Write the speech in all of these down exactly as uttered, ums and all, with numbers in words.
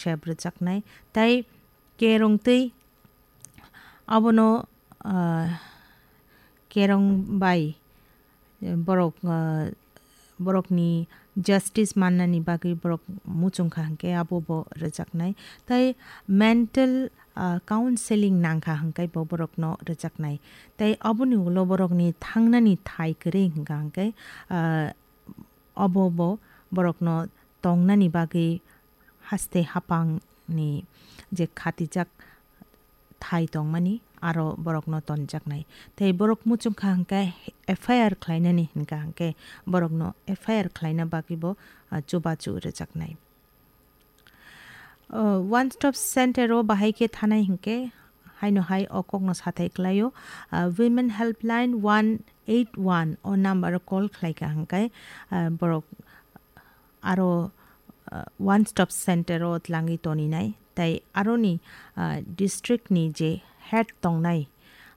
sep rwjaknai. Tai kerong twi abono, ah, kerong bai borok, ah, borokni justice mannani bagwi borok muchung kha hwnkhe abo bo rwjaknai. Tai mental, ah, counseling nang kha hwnkhe bo borokno rwjaknai. Tai aboni ulo borokni thangnani thai kwrwi hwnkha hwnkhe, ah, obo bo borokno tongnani bagwi haste hapangni je khatijak thai tongmani aro borokno tonjaknai. Tei borok muchung kha hwnkhe F I R khlainani hwnkha hwnkhe borokno F I R khlaina bagwi bo, ah, chubachu rwjaknai. O, One Stop Center o bahai khe thanai hwnkhe haino hai o kokno sathai klaio. Ah, Women Helpline one eight one o number o call khlai kha hwnkhe, ah, borok aro, ah, One Stop Center o tlangwi toninai. Tai aroni, ah, district ni je head tongnai,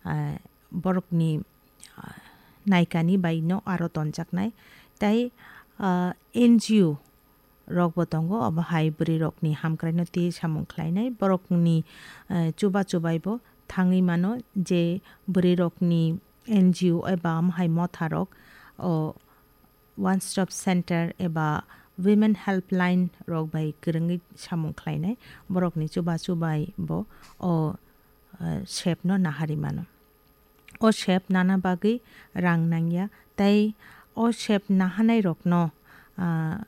ah, borokni, ah, naikani bai no aro tonjaknai. Tai, ah, N G O rok bo tongo, obo hai bwrwi rokni hamkrai no twi samung khlainai. Borokni, ah, chuba chubai bo thangwi mano je bwrwi rokni N G O eba omo hai motha rok o One Stop Center eba Women Helpline rok bai kwrwngwi samung khlainai. Borokni chuba chubai bo o, eh, sep no nahari mano. O sep nana bagwi rang nangya, tei o sep nahanai rokno, ah,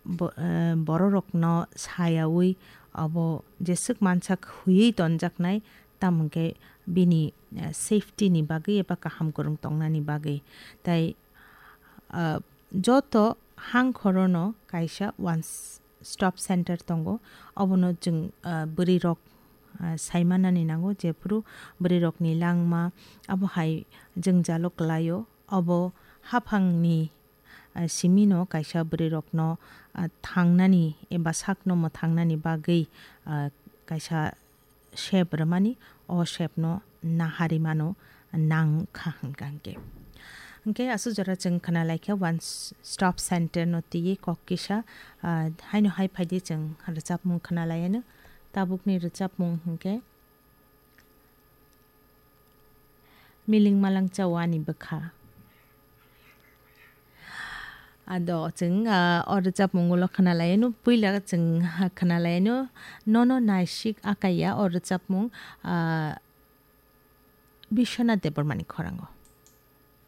bo-, eh, bororokno sayawi obo jeswk mansak huiwi tonjaknai, tamo hwnkhe bini, eh, safety ni bagwi eba kaham kwrwng tongnani bagwi. Tai ah, joto hang khorono kaisa One S-, Stop Center tongo. Obono chwng, ah, bwrwi rok, ah, sai manani nango, jephuru bwrwi rokni langma abo hai jwngjalo kwlaio. Obo haphangni, ah, simino kaisa bwrwi rokno, ah, thangnani eba sakno mwthangnani bagwi, ah, kaisa sep rwmani, o sepno nahari mano nang kha hwnkha hwnkhe. Hwnkhe aswk jora chwng khna lai kha One S-, Stop Center no twiwi kok kisa, ah, haino hai phaidi chwng rwchapmung khna lai anw. Tabukni rwchapmung hwnkhe Miling Malang Chao Ani Bwkha. Ado chwng, ah, o rwchapmung ulo khna lai anw, puila chwng, ah, khna lai anw, Nono Naisik Akaiya o rwchapmung, ah, Biswanath Debbarmani khorango.